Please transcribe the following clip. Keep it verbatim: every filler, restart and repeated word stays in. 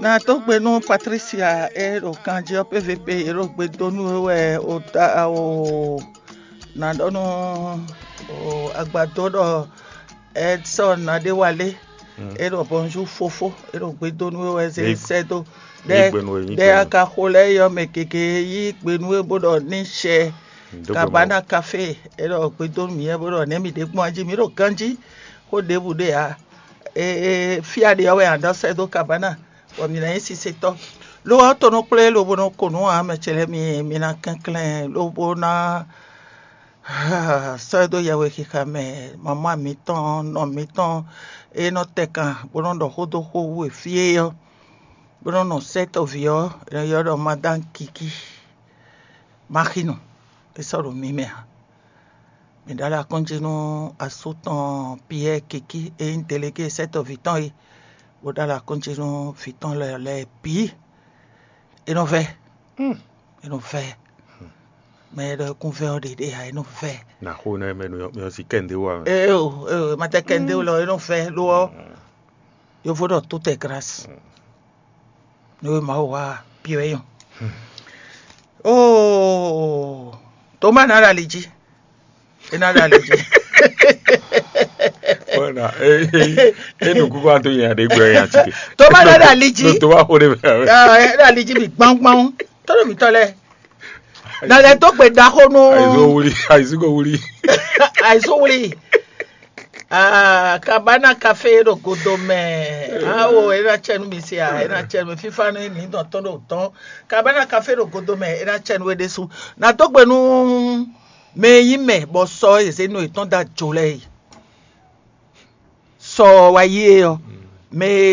Na dó gbe nú Patricia e ɖo kanjí ɔ́, P V P e ɖo gbe dó nú we wɛ o ta o na ɖɔ nú o agbadó ɖɔ Edson Nadéwalé e ɖɔ bonjour fofo e ɖo gbe dó nú we wɛ zé sɛ́ dó ɖɛ ɖɛ a ka xo lɛ́ɛ yɔ mɛ gěgé yí gbe nú we bó ɖɔ ní sɛ Kabana Café e ɖɔ gbe dó nú mǐ wɛ bó ɖɔ nɛ̌ mǐ ɖe gbɔn ají mǐ ɖo ganjí xó ɖěbǔ ɖe ǎ. Fí a ɖe ɔ́ wɛ a nǎ sɛ́ dó Kabana bɔ mǐ ná nyí sisetɔ́. Lo ɔ́, to nɔ kplé lobo nɔ ko nǔ ǎ, mɛ ce lɛ́ɛ mi mi ná kɛnklɛ́n lobo ná sɔ́ ɛ dó yɛhwexixa mɛ. Mamá mǐtɔn, nɔ mǐtɔn e nɔ tɛ kan bó nɔ ɖɔ xó dó xó wú e fí é ɔ́, bó nɔ nɔ sɛ́ tɔ́ví ɔ́, è nɔ ylɔ́ ɖɔ Madame Kiki. Maxinu, é sɔ́ ɖo mi mɛ ǎ. Mǐ ɖó alɔ akɔ́njí nú asú tɔn Piyɛ́ɛ Kiki e nyí delegé sɛ́tɔ́ví tɔn é, bó ɖó alɔ akɔ́njí nú vǐ tɔn lɛ́ɛ lɛ́ɛ bǐ. É nɔ vɛ́, é nɔ vɛ́. Mɛ e ɖɔ é kún vɛ́ ɔ́ ɖě ɖe ǎ, é nɔ vɛ́. Nǎ xo nɛ́ mɛ nú mɛ ɔ́ sí kɛ́ndé wa mɛ. Eo, eo, ma tɛ kɛ́ndé o lɔ, é nɔ vɛ́ lo ɔ́. Yovo ɖɔ tout est grâce. Nú e Mawu wa Piyɛ́ɛ nyɔ. Oo, Toma ná ɖo ali jí. É ná ɖo ali jí. Bɔna, e e e nukúkú ato nya ɖe gbɛ nya tike. Toma ná ɖo ali jí. Toma xo ɖe mɛ. Ɛ, é ɖo ali jí bi gbangban. Tɔ́ɖɔ mǐtɔn lɛ. Na lɛ dó gbe ɖaxó nú. Ayizo wuli, ayizo wuli. Ayizo wuli. Ah, Kabana Café ɖo godo mɛ. Awo, é ná tsɛ nú mi sia, é ná tsɛ nú mi. Fífá nú ní dɔn tɔn ɖo tɔn. Kabana Café ɖo godo mɛ, é ná tsɛ nú we ɖésú. Na dó gbe nú mɛ e nyí mɛ bɔ sɔ e zě nɔ yětɔn da jo lɛ́ɛ yi. Sɔ wa yi é ɔ́, mɛ e